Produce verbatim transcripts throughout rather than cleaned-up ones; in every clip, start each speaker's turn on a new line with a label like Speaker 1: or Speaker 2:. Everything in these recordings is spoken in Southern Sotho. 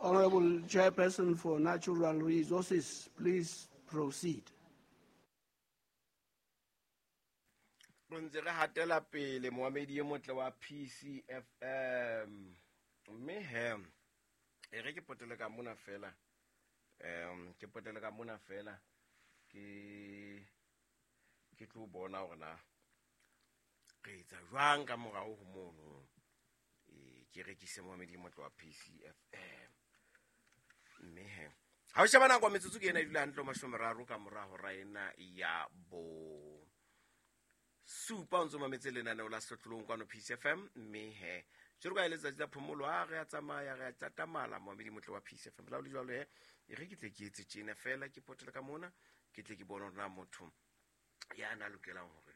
Speaker 1: Honorable Chairperson for Natural Resources, please proceed.
Speaker 2: Re ntse re hatela pele moamedi e motle wa P C F M. Mme he, e re ke potele ka mona fela. Em ke potele ka mona fela ke ke tlo bona hore na re etsa jwang ka morao ho mono. E ke rekise moamedi e motle wa P C F M. Mme he, ha o sheba nako metsotso ke ena e dula hantle mashome a mararo ka mora hora ena ya bo supa o ntso mametse lenaneo la Sehlohlolong kwano P C F M. Mme he, jwalo ka e letsatsi la phomolo, ha re a tsamaya, re a tatamala moamedi motle wa P C F M. La ho le jwalo he, e re ke tle ke etse tjena fela, ke potele ka mona, ke tle ke bone hore na motho ya na lokelang hore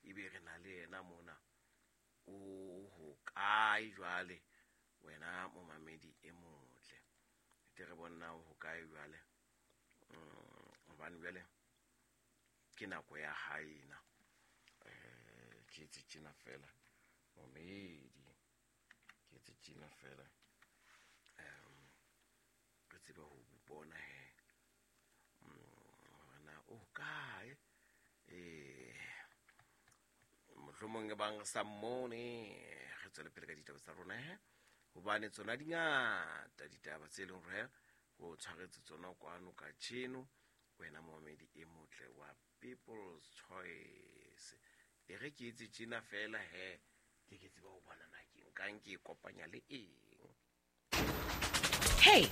Speaker 2: ebe re na le yena mona o hokae jwale, wena momamedi e motle. Tle re bone na o hokae jwale. Mm, hobane jwale ke nako ya hae ena. Eh, ke etse tjena fela momedi, ke etse tjena fela. Em, re tsebe ho bona he. Mm, hore na o hokae. Eh, mohlomong e bang re sa mmone, re tswele pele ka ditaba tsa rona he, hobane tsona di ngata ditaba tse leng hore o tshwaretse tsona kwano kajeno, wena momedi e motle wa People's Choice. E re ke etse tjena fela he, ke ke tsebe ho bona na ke nkang ke e kopanya le eng.
Speaker 3: Hey,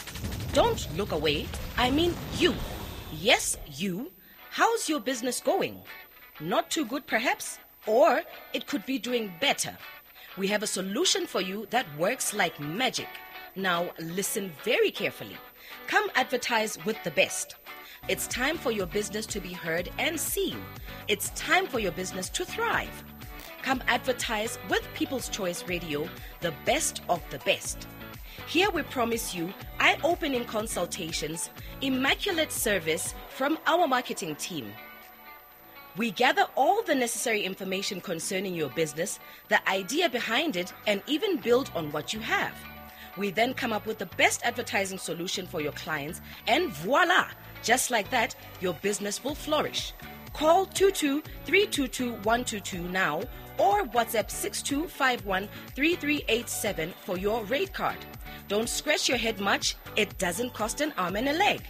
Speaker 3: don't look away. I mean you. Yes, you. How's your business going? Not too good, perhaps? Or it could be doing better. We have a solution for you that works like magic. Now, listen very carefully. Come advertise with the best. It's time for your business to be heard and seen. It's time for your business to thrive. Come advertise with People's Choice Radio, the best of the best. Here we promise you eye-opening consultations, immaculate service from our marketing team. We gather all the necessary information concerning your business, the idea behind it, and even build on what you have. We then come up with the best advertising solution for your clients, and voila! Just like that, your business will flourish. Call two two three two two one two two now or WhatsApp six two five one three three eight seven for your rate card. Don't scratch your head much. It doesn't cost an arm and a leg.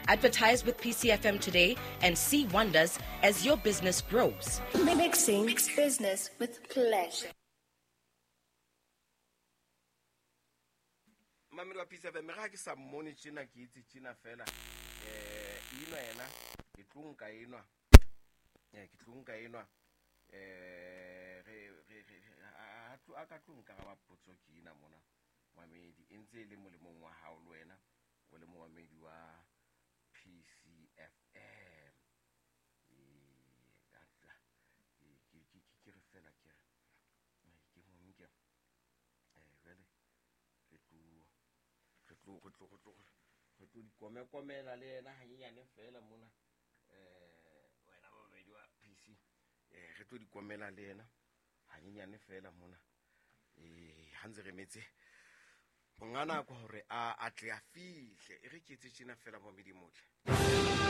Speaker 3: Advertise with P C F M today and see wonders as your business grows.
Speaker 4: Mixing business with pleasure.
Speaker 2: Mamedi wa P C F M, ha ke sa mmone tjena, ke itse tjena fela. Eh, enwa yena, ke tlo nka enwa. Eh, ke tlo nka enwa. Eh, re, re, re, a, a tlo, a ka tlo nka ba potso ke ena mona. Mamedi, e ntse e le molemong wa hao le wena, o le momamedi wa P C F M. Eh, a tla, ke, ke, ke, ke re fela ke re, eh, ke mo nke. Eh, jwale, re tlo, re tlo, re tlo, re tlo, re tlo di komekomela le yena hanyenyane fela mona. Eh, wena momamedi wa P C, eh, re tlo di komela le yena hanyenyane fela mona. Eh, ha ntse re metse monga nako hore a, a tle a fihle. E re ke etse tjena fela momamedi motle.